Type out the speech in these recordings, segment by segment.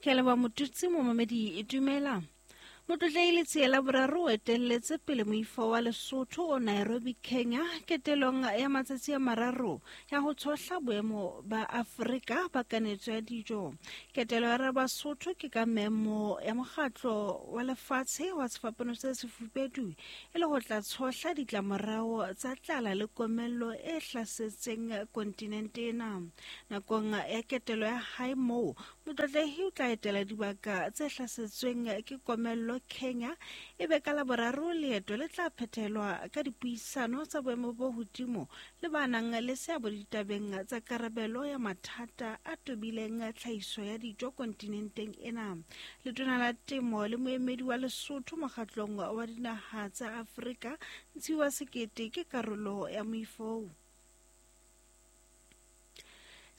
Ke a leboha Motutsi momamedi dumela. Motlotlei Letsie la boraro o etelletse pele moifo wa Lesotho o Nairobi, Kenya ketelong ya matsatsi a mararo ya ho tshohla boemo ba Afrika ba kanetso ya dijo. Ketelo ya Rabasotho ke ka memo ya mokgatlo wa lefatshe wa sefapano se sefubedu e le ho tla tshohla ditlamorao tsa tlala le komello e hlasetseng kontinente ena. Nakong ya ketelo ya hae moo, Motlotlehi o tla etela dibaka tse hlasetsweng ke komello Kenya e be ka Laboraro leeto le tla phethelwa ka dipuisano tsa boemo bo hodimo le ba nang le seabo ditabeng tsa karabelo ya mathata a tobileng tlhahiso ya dijo kontinenteng ena. Letona la Temo le moemedi wa Lesotho mokgatlong wa dinaha tsa Afrika Ntshiwa Sekete ke karolo ya moifo.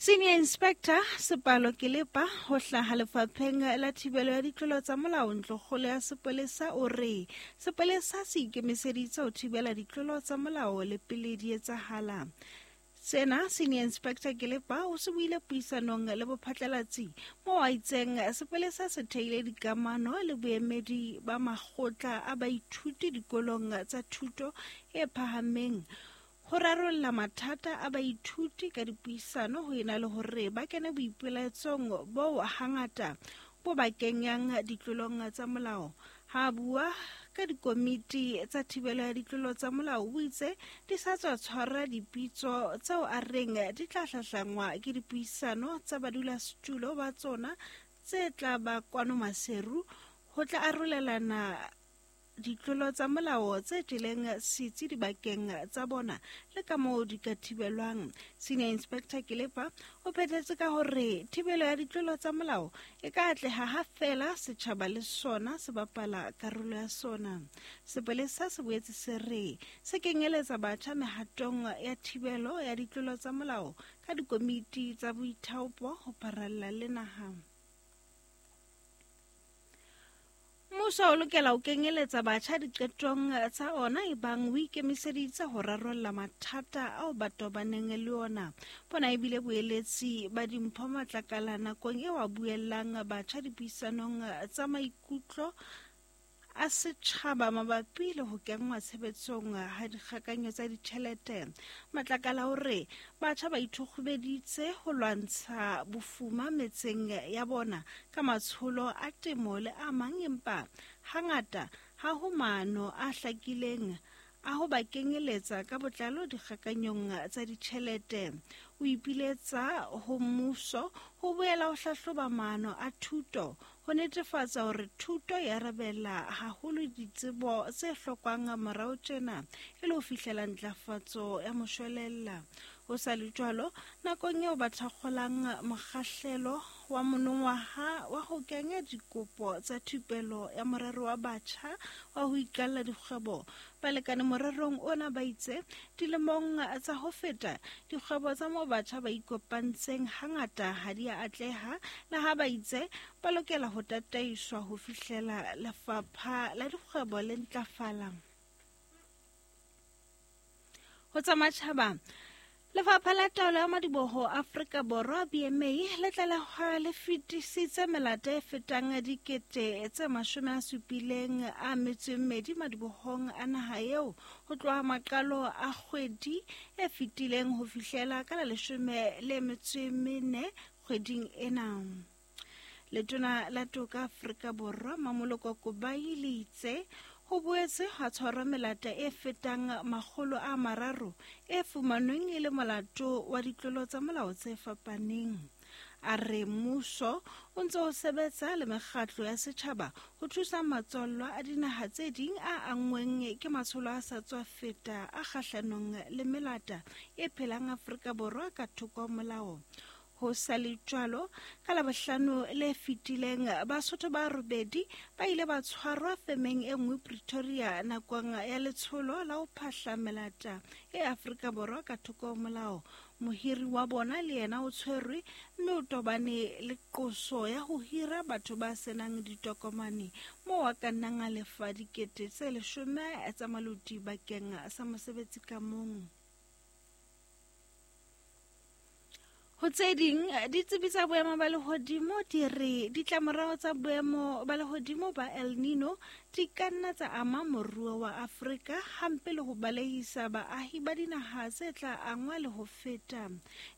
Senior Inspector Sepalo Kelepa ho hlaha lefapheng la thibelo ya ditlolo tsa molao ntlokgolo ya sepolesa o re sepolesa se ikemiseditse ho thibela ditlolo tsa molao le pele di etsahala. Sena Senior Inspector Kelepa o se buile puisanong le bophatlalatsi moo a itseng sepolesa se theile dikamano le boemedi ba makgotla a baithuti dikolong tsa thuto e phahameng Ho rarolla mathata a baithuti ka dipuisano ho ena le hore ba kene boipelaetsong boo hangata bo ba kenyang ditlolong tsa molao. Ha a bua ka dikomiti tsa thibelo ya ditlolo tsa molao o itse di sa tswa tshwara dipitso tseo a reng di tla hlahlangwa ke dipuisano tsa badulasetulo ba tsona tse tla ba kwano Maseru ho tla arolelana ditlolo tsa molao tse jeleng setsi dibakeng tsa bona le ka moo di ka thibelwang. Senior Inspector Kelepa o phethetse ka hore thibelo ya ditlolo tsa molao e ka atleha ha feela setjhaba le sona se bapala karolo ya sona. Sepolesa se boetse se re se kenyeletsa batjha mehatong ya thibelo ya ditlolo tsa molao ka dikomiti tsa boithaopo ho pharalla le naha. Mmuso o lokela ho kenyeletsa batjha diqetong tsa ona ebang o ikemiseditse ho rarolla mathata ao ba tobaneng le ona. Bona ebile boeletsi ba dimpho matlakala nakong eo a buellang batjha dipuisanong tsa maikutlo a setjhaba mabapi le ho kenngwa tshebetsong ha dikgakanyo tsa ditjhelete. Matlakala o re batjha ba ithokgobeditse ho lwantsha bofuma metseng ya bona ka matsholo a temo le a mang empa hangata ha ho maano a hlakileng a ho ba kenyeletsa ka botlalo dikgakanyong tsa ditjhelete. O ipiletsa ho mmuso ho boela ho hlahloba maano a thuto ho netefatsa hore thuto e arabela haholo ditsebo tse hlokwang morao tjena e le ho fihlela ntlafatso ya moshwelella. Ho sa le jwalo, nakong eo ba thakgolang mokgahlelo wa monongwaha wa ho kenya dikopo tsa thupelo ya morero wa batjha wa ho iqalla dikgwebo, balekane morerong ona ba itse dilemong tsa ho feta dikgwebo tsa moo batjha ba ikopantseng hangata ha di a atleha, le ha ba itse ba lokela ho tataiswa ho fihlela lefapha la dikgwebo le ntlafala. Ho tsa matjhaba, Lefapha la Taolo ya Madiboho Afrika Borwa, BMA, le tlalehwa le fetisitse melata e fetang dikete tse 72 madibohong a naha eo ho tloha maqalo a kgwedi e fetileng ho fihlela ka la 14 kgweding ena. Letona la Toka Afrika Borwa Mamoloko Kubayi le itse ho boetse ha tshwarwa melata e fetang 300 e fumanweng e le molato wa ditlolo tsa molao tse fapaneng. A re mmuso o ntse o sebetsa le mekgatlo ya setjhaba ho thusa matswallwa a dinaha tse ding a anngweng ke matsholo a sa tswa feta a kgahlanong le melata e phelang Afrika Borwa ka thoko ho molao. Ho sa le jwalo, ka Labohlano le fetileng, Basotho ba robedi ba ile ba tshwarwa femeng e nngwe Pretoria nakong ya letsholo la ho phahla melata e Afrika Borwa ka thoko ho molao. Mohiri wa bona le yena o tshwerwe mme o tobane le qoso ya ho hira batho ba senang ditokomane moo a ka nnang a lefa 10,000 tsa maloti bakeng sa mosebetsi ka mong. Ho tse ding, ditsebi tsa boemo ba lehodimo di re ditlamorao tsa boemo ba lehodimo ba El Nino di ka nna tsa ama moruo wa Afrika hampe le ho balehisa baahi ba dinaha tse tla angwa le ho feta.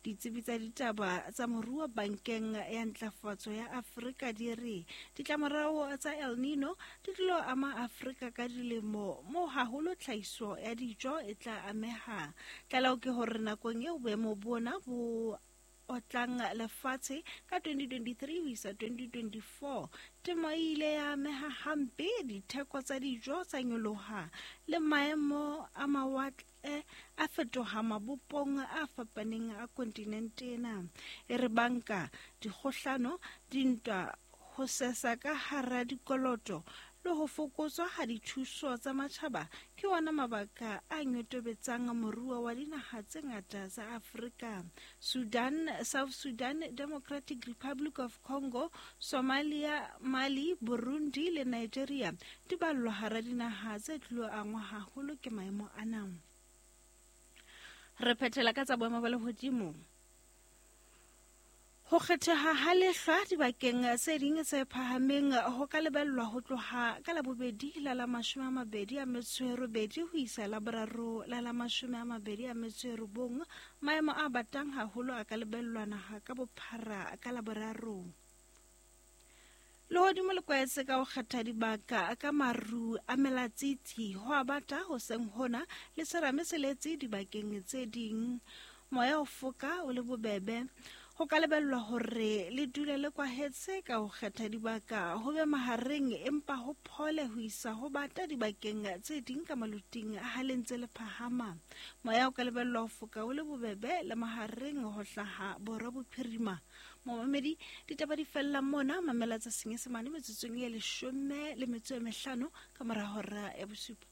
Ditsebi tsa ditaba tsa moruo Bankeng ya Ntlafatso ya Afrika di re ditlamorao tsa El Nino di tlilo ama Afrika ka dilemo moo haholo tlhahiso ya dijo e tla ameha. Tlaleho ke hore nakong eo boemo bona bo otlang lefatshe ka 2023 ho isa 2024, temo e ile ya ameha hampe, ditheko tsa dijo tsa nyoloha le maemo a mawatle a fetoha mabopong a fapaneng a kontinente ena. E re banka, dikgohlano, dintwa, ho sesa ka hara dikoloto le ho fokotswa ha dithuso tsa matjhaba ke ona mabaka a nyotobetsang moruo wa dinaha tse ngata tsa Afrika. Sudan, South Sudan, Democratic Republic of Congo, Somalia, Mali, Burundi le Nigeria di ballwa hara dinaha tse tlilo angwa haholo ke maemo ana. Re phethela ka tsa boemo ba lehodimo. Ho kgetheha ha lehlwa dibakeng tse ding tse phahameng ho ka lebellwa ho tloha ka Labobedi la la 28 ho isa Laboraro la la 29. Maemo a batang haholo a ka lebellwa naha ka bophara ka Laboraro. Lehodimo le kwaetse ka ho kgetha dibaka ka maru a melatsitsi, ho a bata hoseng hona le serame se letse dibakeng tse ding. Moya o foka o le bobebe. Ho ka lebellwa hore le dule le kwahetse ka ho kgetha dibaka ho be mahareng empa ho phole ho isa ho bata dibakeng tse ding ka maluting ha le ntse le phahama. Moya o ka lebellwa ho foka o le bobebe le mahareng ho hlaha borwa bophirima. Momamedi, ditaba di fella mona, mamela tsa Senyesemane metsotsong e 15 ka mora hora ya bosupa.